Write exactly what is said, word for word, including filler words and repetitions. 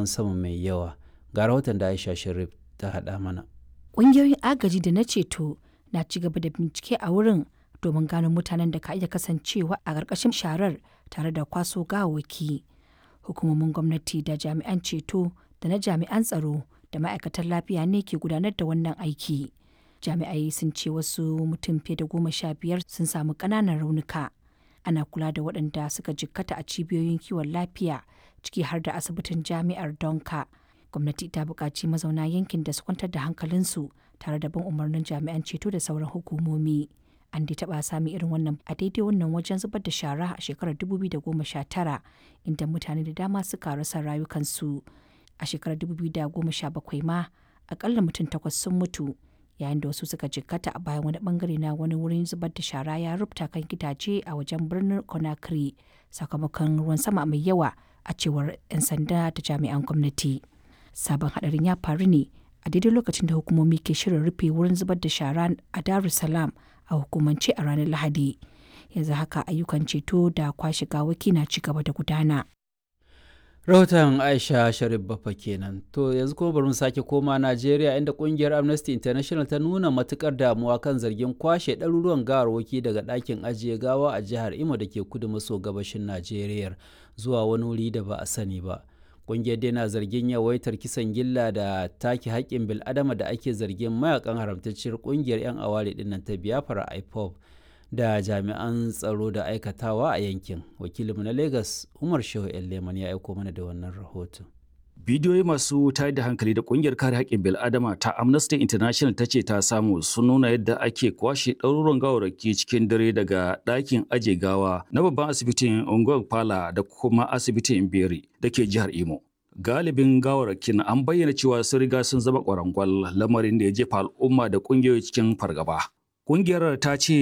ruwan sama mai yawa. Ga rahoton da Aisha Sharif ta haɗa mana. Ƙungiyoyin agaji da na ceto na ci gaba da bincike a wurin domin gano mutanen da ka iya kasancewa a ƙarƙashin sharar tare da kwaso gawawwaki. Hukumomin gwamnati da jami'an ceto da na jami'an tsaro da ma'aikatan lafiya ne ke gudanar da wannan aiki. Jami'ai sun ce wasu mutum fiye da goma sha biyar sun samu ƙananan raunuka. Ana kula da waɗanda suka jikkata a cibiyoyin kiwon lafiya, ciki har da asibitin jami'ar Donka. Gwamnati ta buƙaci mazauna yankin da su kwantar da hankalinsu tare da bin umarnin jami'an ceto da sauran hukumomi. An dai taɓa sami irin wannan a daidai wannan wajen zubar da shara a shekarar dubu biyu da goma sha tara, inda mutane da dama suka rasa rayukansu. A shekarar dubu biyu da goma sha bakwai ma, akalla mutum takwas sun mutu yayin da wasu suka jikkata a bayan wani bangare na wani wurin zubar da shara ya rubuta kan gidaje a wajen birnin Conakry sakamakon ruwan sama mai yawa, a cewar 'yan sanda da jami'an gwamnati. Sabon hadarin ya faru ne a daidai lokacin da hukumomi ke shirin rufe wurin zubar da shara a Dar es Salaam a hukumance a ranar Lahadi. Yanzu haka ayyukan ceto da kwashe gawaki na ci gaba da gudana. Rahoton Aisha Sharif Bafa kenan. To, yanzu kuma bari mu sake koma Najeriya, inda kungiyar Amnesty International ta nuna matukar damuwa kan zargin kwashe ɗaruruwan gawarwaki daga ɗakin ajiye gawa a jihar Imo da ke kudu maso gabashin Najeriya zuwa wani wuri da ba a sani ba. Kungiyar dai na zargin yawaitar kisan gilla da take haƙƙin bil'adama da ake zargin mayakan haramtacciyar kungiyar 'yan aware dinnan ta Biafra, IPOB, da jami'an tsaro da aikatawa a yankin. Wakilinmu na Lagos, Umar Shehu Leman, ya aiko mana da wannan rahoton. Bidiyoyi masu tayar da hankali da kungiyar kare haƙƙin bil'adama ta Amnesty International ta ce ta samu sun nuna yadda ake kwashe ɗaruruwan gawarraki cikin dare daga ɗakin aje gawa na babban asibitin Unguwar Pala da kuma asibitin Beri da ke jihar Imo. Galibin gawarrakin an bayyana cewa sun riga sun zama ƙwarangwal, lamarin da ya jefa al'umma da ƙungiyoyi cikin fargaba. Ƙungiyar ta ce